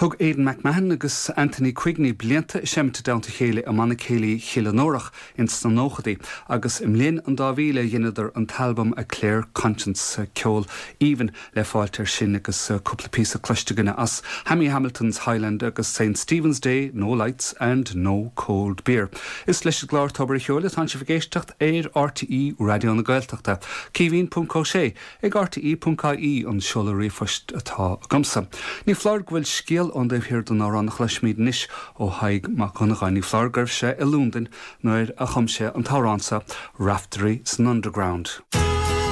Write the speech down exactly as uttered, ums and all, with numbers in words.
Thug Aidan McMahon agus Anthony Quigney blianta seinnte i dteannta a chéile i mBanna Céilí Chill Fhionnúrach ins na nóchaidí, agus i mbliain an dá mhíle dheineadar an t-albam A Clear Conscience ceol aoibhinn le fáilt air sin agus cúpla píosa cloiste againne as Hammy Hamilton's Highland agus St Stephen's Day, No Lights and No Cold Beer. Is leis an gclár Tobar an Cheoil atá sibh ag éisteacht ar RTÉ Raidió na Gaeltachta. Caoimhín.ó sé ag RTÉ.ie an seoladh ríomhphoist atá agamsa. Ní foláir go bhfuil scéal ón dtaobh thiar den amhrán a chloisfimid anois ó Thadhg Mac Dhonnagáin ní foláir go raibh sé i Londain nuair a chum sé an t-amhrán seo Raiftearaí san Underground.